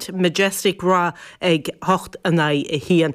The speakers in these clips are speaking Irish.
Saint Majestic Ráth ag 8 in aghaidh 1.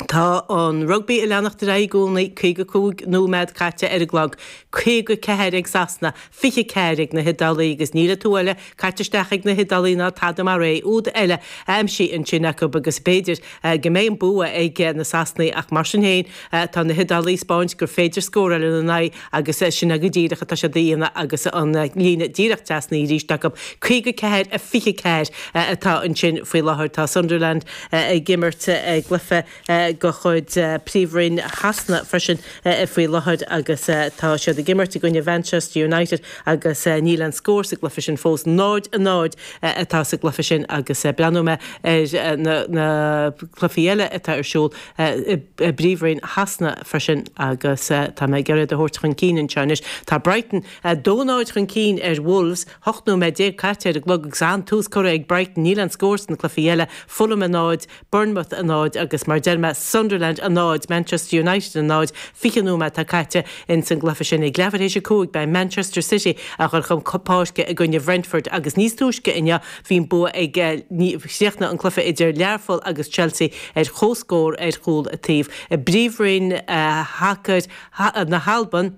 Tá an rugbaí ag leanacht ar aghaidh i gcónaí, 55 nóiméad caite ar an gclog, 54 ag Sasana, 24 ag na hIodálaigh agus níl an t-úd eile caite isteach ag na hIodálaigh ná tada mar é, úd eile aimsithe ansin acu agus b'fhéidir go mbeidh an bua ag na Sasanaigh ach mar sin féin tá na hIodálaigh ag 'spáint gur féidir scóráil ina n-aghaidh agus sin é go díreach atá siad a dhéanamh agus an líne díreach trasna arís acu. 54, 24 atá ansin faoi láthair. Tá Sunderland ag imirt i gcluiche de chuid Príomhroinn Shasana freisin faoi láthair agus tá siad ag imirt i gcoinne Mhanchester United agus níl aon scór sa gcluiche sin fós. 0, 0 atá sa gcluiche sin agus breathnóidh mé ar na cluichí eile atá ar siúl i bPríomhroinn Shasana freisin agus tá mé ag iarraidh iad a thabhairt chun cinn anseo anois. Tá Brighton 2, 0 chun cinn ar Wolves, 18 nóiméad caite ar an gclog agus an-tús curtha ag Brighton. Níl aon scór sna cluichí eile, Fulham 0, Bournemouth 0 agus mar a deir mé Sunderland 0, Manchester United 0, 20 nóiméad atá caite ins an gcluiche sin. Ag leathuair théis 5 beidh Manchester City a dhul chun páirce i gcoinne Bhrentford agus níos túisce inniu bhí an bua ag chríochnaigh an cluiche idir Learpholl agus Chelsea ar comhscór ar chúl an taobh. I bPríomhroinn Shacair na hAlban,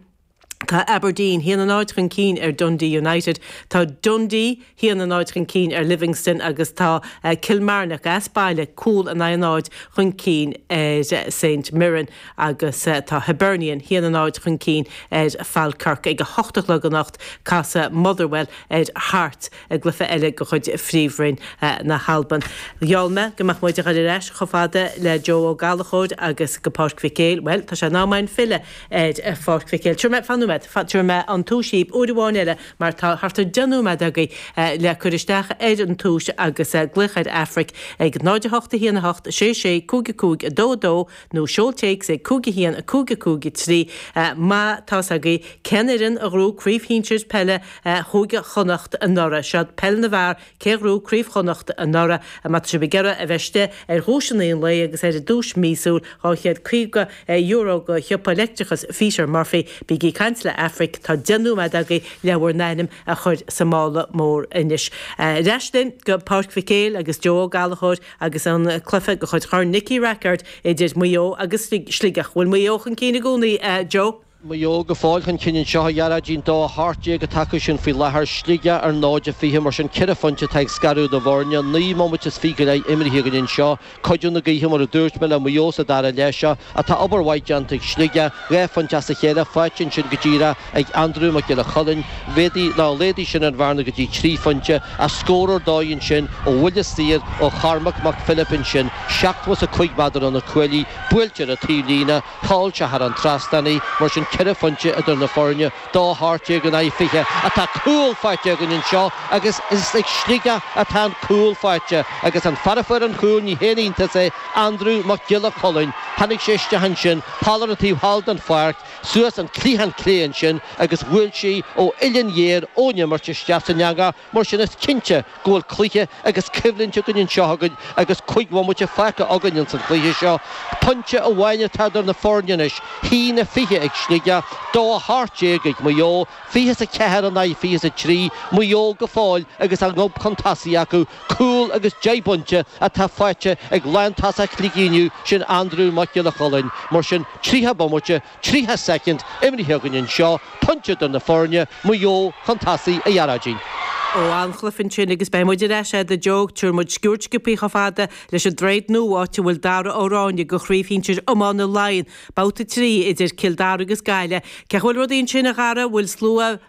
tá Aberdeen 1-0 chun cinn ar Dundee United, tá Dundee 1-0 chun cinn ar Livingston agus tá Kilmarnock as baile cúl in aghaidh 0 chun cinn ar St Mirren agus tá Hibernian 1-0 chun cinn ar Falkirk. Ag 8 a chlog anocht casfaidh Motherwell ar Hearts. i gcluiche eile de chuid Phríomhroinn na hAlban. Gheall mé go mbeadh muid ag dul ar ais chomh fada le Joe Ó Gallchóir agus go Páirc Mhic Éil. Bhuel, tá sé in am againn filleadh ar Pháirc Mhic Éil. Tabharfaidh mé, fan nóiméad, tabharfaidh mé an tomhas dhaoibh uair amháin eile mar tá thart ar 10 nóiméad agaibh le cur isteach ar an tomhas agus glaoch ar Aifric ag 0 8 1 8 6 6 5 5 2 2 nó seol téacs ag 5 1 5 5 3 má tá's agaibh cén fhoireann a ghnóthaigh Craobh Shinsir Peile Chúige Chonnacht anuraidh. Seo Peil na bhFear, cé a ghnóthaigh Craobh Chonnacht anuraidh? Má tá sibh ag iarraidh a bheith istigh ar dhuaiseanna an lae agus ar an duais míosúil €250 go shiopa leictreachais Pheter Murphy, bígí ag caint le Aifric, tá 10 nóiméad agaibh le bhur n-ainm a chur sa mála mór anois. Ar ais linn go Páirc Mhic Éil agus Joe Ó Gallchóir agus an cluiche de chuid Chorn Nicky Rackard idir Maigh Eo agus Sligeach. Bhfuil Maigh Eo chun cinn i gcónaí, Joe? Maigh Eo go fóill chun cinn anseo, a Ghearóidín, 2 18 atá acu sin faoi láthair, Sligeach ar 0 20, mar sin ceithre phointe atá ag scaradh na bhfoirne, 9 mbomaite is 20 go leith imrithe againn anseo. Cuidiú na gaoithe, mar a dúirt mé, le Maigh Eo sa dara leath seo, ach tá obair mhaith déanta ag Sligeach, dhá phointe as a chéile faighte ansin go díreach ag Andrew Mac Giolla Chulainn, mhéadaigh, nó laghdaigh sin an bhearna go dtí trí phointe, ach scór ar dóigh ansin ó bhuille saor ó Chormac Mac Philip ansin, 75 méadar ó na cuaillí, buailte ar an taobhlíne. Sheol sé thar an trasnán í, mar sin ceithre phointe idir na foirne, 2 18 in aghaidh 20. Ach tá cúl faighte againn anseo agus is ag Sligeach atá an cúl faighte agus an fear a fuair an chúl, ní haon iontas é, Andrew Mac Giolla Chulainn. Tháinig sé isteach ansin, thall ar an taobh thall den pháirc, suas an cliathán clé ansin agus bhuail sé ó uillinn ghéar ón imirt isteach san eangach. Mar sin is cinnte go bhfuil cluiche agus coimhlint againn anseo againn agus cuig bhomaite fágtha againn ins an chluiche seo. Pointe amháin atá idir na foirne anois, 1-20 ag Sligeach, 2-18 ag Maigh Eo, 24 in aghaidh 23, Maigh Eo go fóill agus a ngob chun tosaigh acu, cúl agus 10 bpointe atá faighte ag lántosach Shligigh inniu, sin Andrew Mac Giolla Chulainn. Mar sin, 30 bomaite, 30 soicind imrithe againn anseo, pointe idir na foirne, Maigh Eo chun tosaigh, a Ghearóidín. Ó, an-chluiche ansin agus beidh muid ar ais agat a Joe, tabharfaidh muid sciuird sciobthaí chomh fada leis an Droichead Nua áit a bhfuil Dara Ó Ráinne do Chraobh Shinsir Iomána Laighean, babhta 3 idir Cill Dara agus Gaillimh. Cén chaoi a bhfuil rudaí ansin a Dhara, bhfuil slua?